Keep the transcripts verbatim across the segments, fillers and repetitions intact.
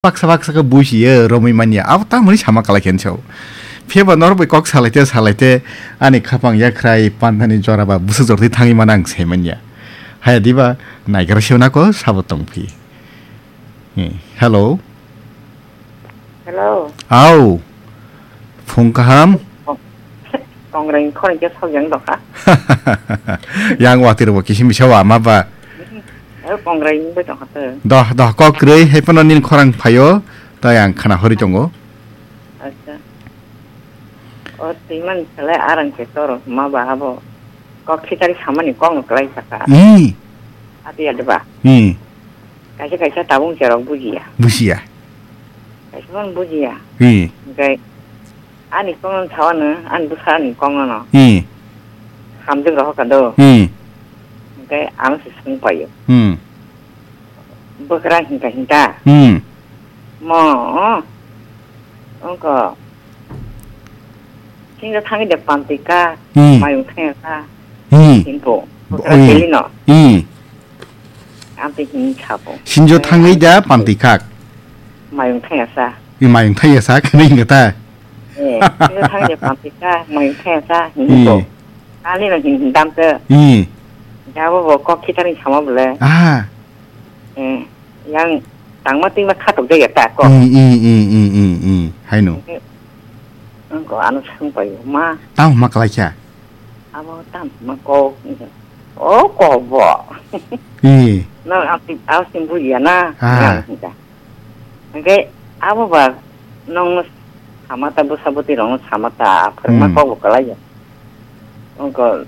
baksa baksa khe buisi ye romwi manya. Abo tamoni sama kalai khe nw sao. Phiya ba norok bai kok salai te salai te ani khapang yakhrai pandani jora ba bwswk jora twi thangwi mano ang sai manya. Haya diba naigra se nako sabo tong phi. Hmm. Hello. Hello. Au. Phung kaham. Kongrai khorang khe sok yang dokha. Yang watwi rok bo kisim bisa wa ma ba. Eh, kongrai ni bai tongkha te. Doh, doh, kok kwrwi, hai phano nini khorang phaio, tai ang khna hori tongo. Acha. O twi man khalai arang khe toro ma ba abo. Kok khitari samani kok no kwlai saka. Hmm. Ati ya deba. Hmm. Kaisa kaisa tabung cherok bujiya. Bujiya. Kaisa man bujiya. Hmm. Hingkai ani kok no thawa no, ani bwsa ani kok no no. Hmm. Hamjwk rohor ka do. Hmm. Hingkai ang se sung payo. Hmm. Bwkra hinta hinta. Hmm. Mo, ongko. Sinjo thangwi de pantwi ka, Hmm. mayung thangya ka. Hmm. Hinpo. Bo-, Bwkra oi. Teli no. Hmm. Amtwi hin sabo. Sinjo thangwi da pantwi khak. Mayung thangya sa. I mayung thangya sa, khani hinga ta. Eh, sinjo thangwi de pantwi ka, mayung thangya sa, hinpo. Hmm. Ani no hin hin dam ke. Hmm. Jabo bo kok khitari sama bole. Ah. Eh, yang tangma tingma khatok jaya ta ko. Mm, mm, mm, mm, mm, mm. Haino. Angko ano sung pai ma. Tamo ma kalai kha? Abo tam ma ko. O ko bo. Eh. No, api, asim buya na. Ah. Yang kita. Hingke abo ba nongno samata bwsa bwtwi rokno samata phwrwngma Hmm. kok bo kwlaio. Wngkha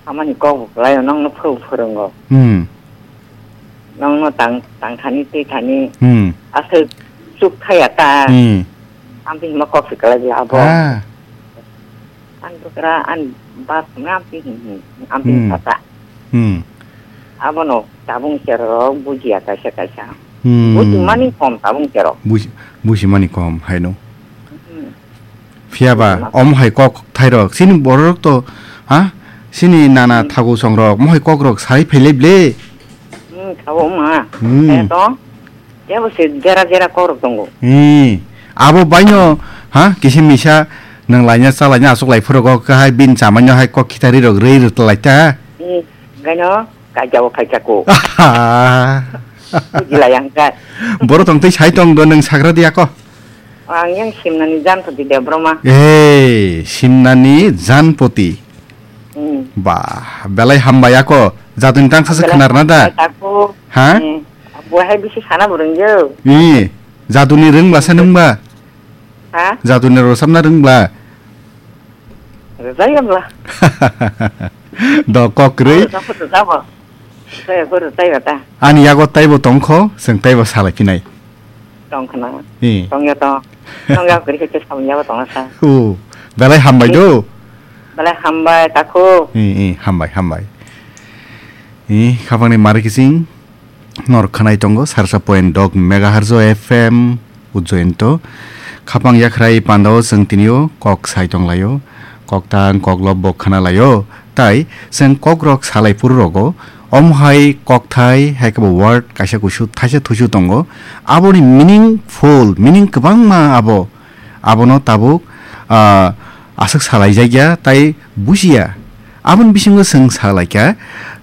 samani kok bo kwlaio nongno phw phwrwngo. Hmm. Nongno tang tangthani twithani Hmm. aswk chuk thaya ta. Hmm. Amtwi hima kok se kwlai abo. Ah. Ani bwkra ani bas hwnwi amtwi hin hin amtwi Hmm. Sata. Hmm. Abono tabung cherok bujiya kaisa kaisa. Hmm. Bujimani kom tabung cherok. Buji-, bujimani kom haino. Hmm. Phiya ba, Bujima. Omo hai kok thairok. Chini bororok to, ha? Chini nana Hmm. thagu songrok, mohai kokrok sai phailai ble. Hmm, thabo ma. Hmm. Eh, to? Tebo se jera jera kokrok tongo. Ee, abo baino, ha, kisi misa nang laina cha laina aswk lai phuru go ka hai bin chamai no hai kok khitari rok rei rwt lai ta. Ee, gaino kaijao khaijako. Aha. Bujilai ang ka. Boro tong tei sai tong do nang sagra dia ko. Ang yang simnani jan poti de broma. Ee, simnani jan poti. Hmm. Ba, belai hambai ako. Jatun tang sasa Belai khanar na da. hambai tako. Ha? Hmm. Bo hai bisi sana burung yo. Ee, jatuni rwng bla sa nung ba? Ha? Jatuni rosam na rwng bla? Rwjai bla. Do kok rwui. Rwjai bla. Rwjai bla. Rwjai bla. Ani yago taibo tongkho, seng taibo salai phinai. Tong khna. Ee. Tong ya tong. Tong ya kri khe samung ya tong sa. O, belai hambai do. Belai hambai tako. Ee, ee, hambai, hambai. Ee, khapangni mari kising. Nor khanai tongo, sarsa point dok megahertz o F M, Ujjayanto. Khapang yakhrai pandao chwng tinio kok sai tonglaio, kok tang, kok lobbo khanalaio, tai chwng kokrok salai phururogo, omo hai kokthai, hai khe bo word kaisa kusu thaisa thusu tongo, aboni meaningful, meaning kwbangma abo. Abono tabuk, ah, aswk salaijakya tai bujiya. Aboni bisingo chwng salaikha,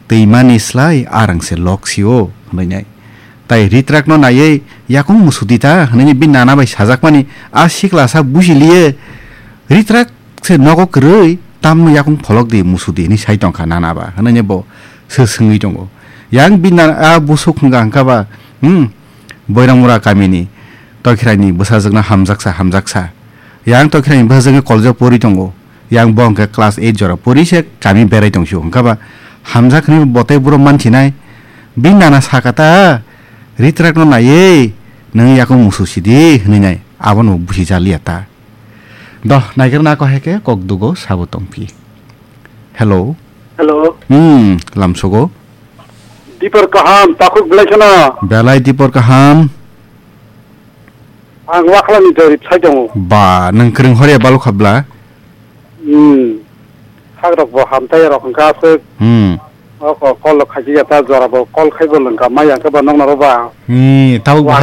"Twimani slai arang se lok sio," hwnwi nai. Tai ritrakno naiwi, "Yakung musudi ta," hwnwi bini nana bai sajakmani, a siklasa bujiliye, "Ritrak se nogo kwrwi, tamno yakung pholok di musudi," hwnwi sai tongkha nana ba, hwnwi bo se swngwi tongo. Yang bini nana, a busuk hwnkha hwnkha ba, hmm, Boiramura kamini Tokhiraini bwsajwkno hamjaksa, hamjaksa. Yang Tokhiraini bwsajwkni college-o pori tongo. Yang bo hwnkhe class eight jora pori se kami berai tong sio. Hwnkha ba hamjak hwnwi bo tei buro mansinai. Bini nana saka ta, "Ritrakno naiwi nwng yakung musu sidi," hwnwi nai. Abono busi jaliya ta. Doh, naigra nako hai khe kok dugo sabo tongphi. Hello. Hello. Hmm, lamsogo. Dipor kaham, takhuk belai kheno. Belai dipor kaham. Ang wakhlani jorip sai tongo. Ba, nwng kwrwng horiya balukha bla? Hmm. Hagrok bo hamtai rok hwnkha aswk. Hmm. O ko call lo khaiki ya ta jora bo call khai bo lwngka mai ya khe ba nokna ro ba. Ni, tabuk bo Wa